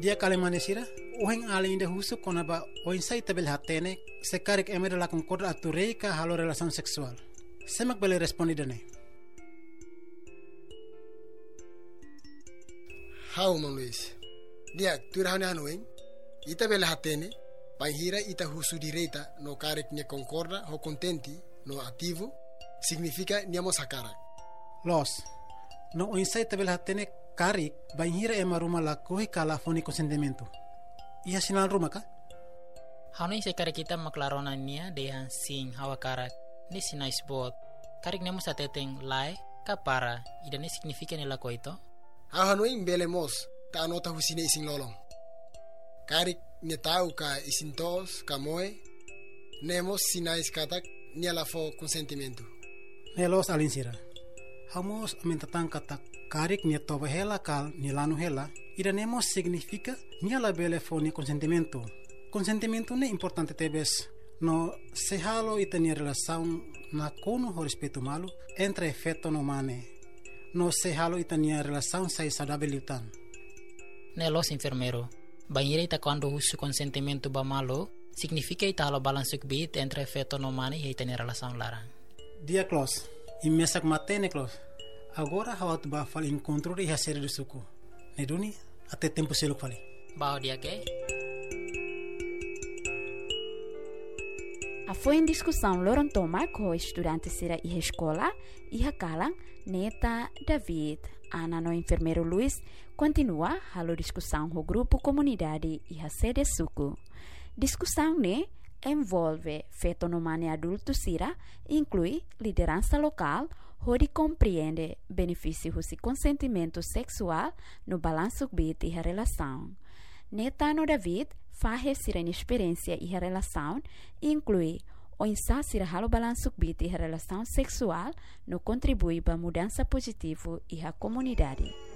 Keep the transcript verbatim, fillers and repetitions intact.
Di'ak, alin mane sira, ohin alin ida husu kona-ba oinsá ita bele hatene se karik ema ida la konkorda atu rei ka halo relasaun seksuál. Sé mak bele responde ida-ne'e? Ha'u, maun Luis. Di'ak, tuir ha'u-nia hanoin, ita bele hatene bainhira ita husu direta no karik nia konkorda ho kontente no ativu, signifika nia mós hakarak. Loos, no oinsá ita bele hatene karik bainhira ema ruma lakohi ka la fó nia konsentimentu? Iha sinál ruma ka? Ha'u hanoin se karik ita mak la rona nia dehan sin, ha'u hakarak, ne'e sinais boot. Karik nia mós hateten lae ka para, ida-ne'e signifika nia lakohi to? Ha'u hanoin bele mós ita anota husi nia isin-lolon. Karik nia ta'uk ka isin toos ka moe, ne'e mós sinais katak nia la fó konsentimentu. Ne'e loos, alin sira. Ha'u mós aumenta tan katak karik nia toba hela ka nia lanu hela, ida-ne'e mós signifika nia la bele fó nia konsentimentu. Konsentimentu ne'e importante tebes, no sei halo ita-nia relasaun nakonu ho respeitu malu entre feto no mane. No sei halo ita-nia relasaun sai saudavel liután. Ne'e loos, enfermeiru. Bainhira ita kuandu husu konsentimentu ba malu, signifika ita halo balansu kbiit entre feto no mane iha ita-nia relasaun laran. Di'ak, loos. Imi mesak matenek, loos. Agora ha'u atu ba fali enkontru iha sede do suku. Ne'e duni, até tempu seluk fali. Bá ho di'ak, eh? Hafoin diskusaun loron tomak ho estudante sira iha eskola, iha kalan, Neta, David, Ana no enfermeiru Luis kontinua halo diskusaun ho grupu komunidade iha sede suku. Diskusaun ne'e envolve feto no mane adultu sira, inklui lideransa lokál, hodi komprende benefísiu husi konsentimentu seksuál no balansu kbiit iha relasaun. Neta no David fahe sira-nia esperiénsia iha relasaun, inklui oinsá sira halo balansu kbiit iha relasaun seksuál no kontribui ba mudansa pozitivu iha komunidade.